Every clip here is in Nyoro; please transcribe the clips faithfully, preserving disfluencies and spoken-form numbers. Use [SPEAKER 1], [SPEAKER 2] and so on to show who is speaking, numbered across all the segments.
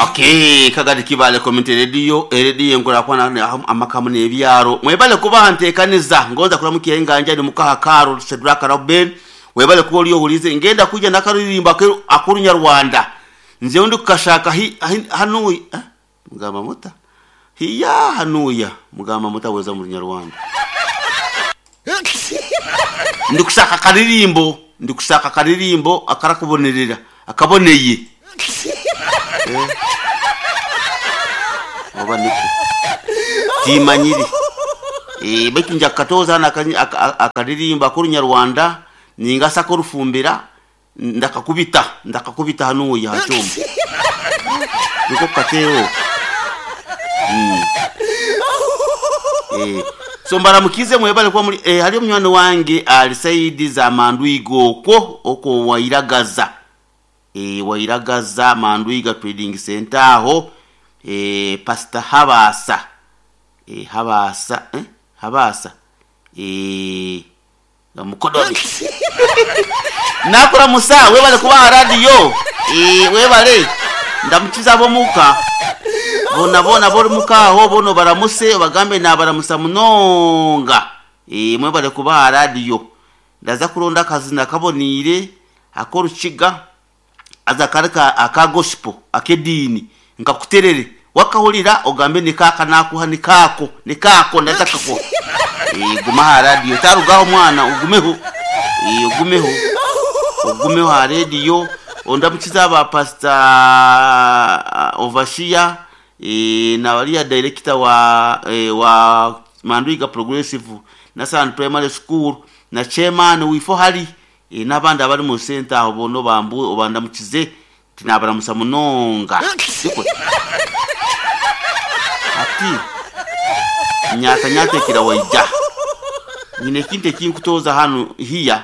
[SPEAKER 1] Okay, Kagari Kibale Community Radio, Radio enkurakwana amakamu n'ebyaro. Mwebale kuba ntekaniza ngonza kulamukiya enganja ni mukaha Carol Sedraka Robin. Webale kuba oli ohulize ngenda kuja nakaririmba akurunyarwanda. Nze undi kukashaka hi, hi, hanuya eh? Mugamba muta hiya hanuya mugamba muta weza mu Runyarwanda. Ndi kushaka karirimbo, ndi kushaka karirimbo akarakubonerera akaboneye. Eh. Oba niko timanyiri eh baitu nja katoza na akaririmba akurunyarwanda ningasa ko rufumbira ndakakubita ndakakubita hanuya hachumba niko kateo. Mm. Eh so mbaramukize mwebale kwa muri eh, hali munywani wange ali Saidi za Mandwigo ko oko wairagaza eh wairagaza Mandwiga Trading Center aho eh Pastor Habasa eh Habasa eh Habasa eh ngamukodobi nakora musa webale kuba radio eh webale ndamukiza bomuka bona bona bori mukaho bono baramuse bagambe na baramusa munonga eh mwebale kuba radio ndaza kuronda akazina kabonire akorukiga aza kareka aka gospel akedini nkakuterere wakahulira ogambe nikaka nakuha nikako nikako ndaza kako eh guma ha radio tarugaho mwana ugumeho eh ugumeho ugumeho ha radio ondamukiza aba pastor Overseer e, na walia director wa e, wa Mandwiga Progressive National Primary School na chairman wifo hali e, n'abandi abari mu center aho bono bambu obandamukize tinabaramusa munonga siko ati nyata nyata kira waija nyine kinte kinkutoza hano hiya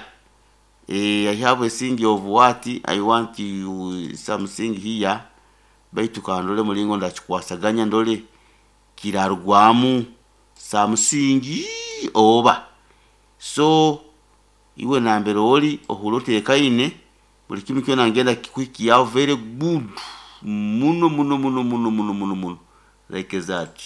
[SPEAKER 1] eh, I have a thing of what I want you something here baitu kandole mulingo ndachikwasaganya ndole kirarugwamu something oba so iwe nambere oli ohulotekaine buli kimu kyona ngenda kikwikiyaho very good muno muno muno muno muno muno muno like that.